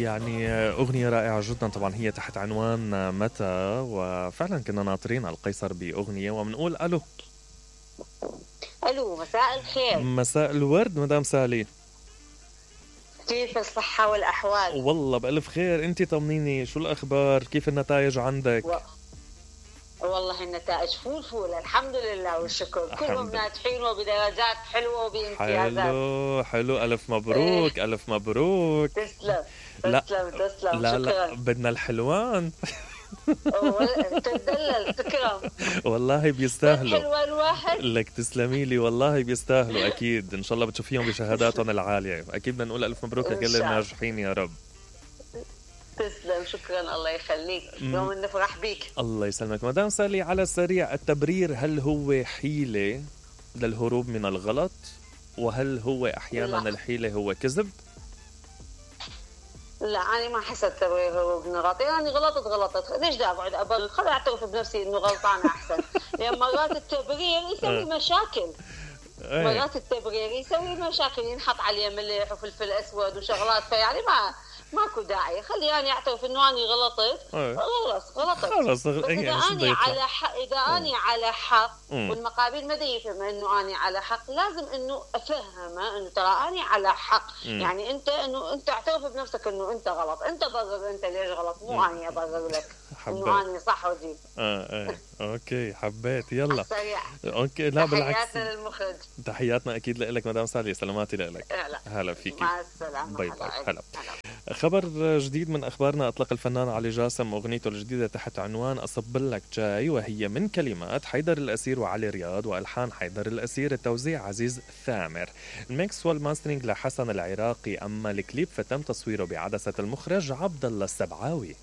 يعني أغنية رائعة جدا طبعا، هي تحت عنوان متى، وفعلا كنا ناطرين القيصر بأغنية ومنقول ألو. ألو، مساء الخير. مساء الورد مدام سالي، كيف الصحة والأحوال؟ والله بألف خير. انتي طمنيني، شو الأخبار؟ كيف النتائج عندك؟ والله النتائج فول الحمد لله والشكر، كلهم ناجحين وبدرجات حلوة وبامتيازات. حلو ألف مبروك. ألف مبروك. تسلم. لا شكرا. لا بدنا الحلوان. تدلل تكرم. والله بيستاهلوا. حلوان واحد لك تسلمي لي، والله بيستاهلوا أكيد. إن شاء الله بتشوفيهم بشهاداتهم العالية. أكيد بدنا نقول ألف مبروك لكل الناجحين يا رب. تسلم، شكرا، الله يخليك. يوم نفرح بيك. الله يسلمك مدام سالي. على السريع، التبرير هل هو حيلة للهروب من الغلط؟ وهل هو أحيانا الحيلة هو كذب؟ لا، أنا ما حسيت تبرير هروب من الغلط. يعني غلطت ليش دا أقعد أبرر؟ خليني أعترف بنفسي إنه غلطانة أحسن. يعني مرات التبرير يسوي مشاكل. مرات التبرير يسوي مشاكل، ينحط عليه ملح وفلفل أسود وشغلات، فيعني ماكو داعي. خليني أعترف إنه أنا غلطت. خلص إذا أنا على حق، أنا على حق والمقابل ما يفهم إنه أنا على حق، لازم إنه أفهمه إنه ترى أنا على حق. يعني أنت اعترف بنفسك إنه أنت غلط، أنت برر أنت ليش غلط، مو أنا أبرر لك إنه أنا صح ودي. أوكي حبيت. يلا سريع. أوكي. لا بالعكس، تحياتنا للمخرج. تحياتنا أكيد لك مدام سالي. سلاماتي لك. هلا فيكي. مع السلامة. باي باي. هلا. خبر جديد من أخبارنا. أطلق الفنان علي جاسم أغنيته الجديدة تحت عنوان أصبلك جاي، وهي من كلمات حيدر الأسير وعلي رياض وألحان حيدر الأسير، التوزيع عزيز ثامر، الميكس والماسترينج لحسن العراقي. أما الكليب فتم تصويره بعدسة المخرج عبد الله السبعاوي.